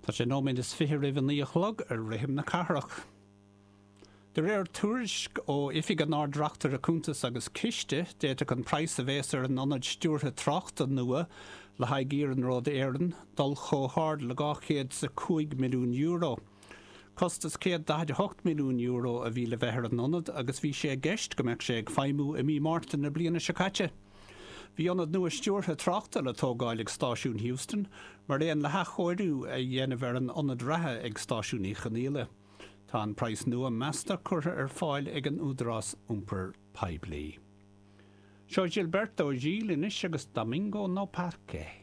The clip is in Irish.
Tá sé nóiméad is 20 roimh a 9 a chlog ar Rithim na Cathrach. De réir tuairisc ó Oifig an Ard-Reachtaire Cuntas agus Ciste, d'fhéadfadh an praghas a bhéas ar an ionad stiúrtha tráchta nua le haghaidh Iarnród Éireann dul chomh hard le €205 milliún. Costas €148 milliún a bhí le bheith ar an ionad agus bhí sé i gceist go mbeadh sé ag feidhmiú i mí Márta na bliana seo caite. Bhí ionad nua stiúrtha tráchta le tógáil ag Stáisiún Heuston, mar aon le hathchóiriú a dhéanamh ar an ionad reatha ag Stáisiún Uí Chonghaile. Tá an praghas nua measta curtha ar fáil ag an Údarás Iompair Poiblí. Seo Gilberto Gil anois agus Domingo No Parque.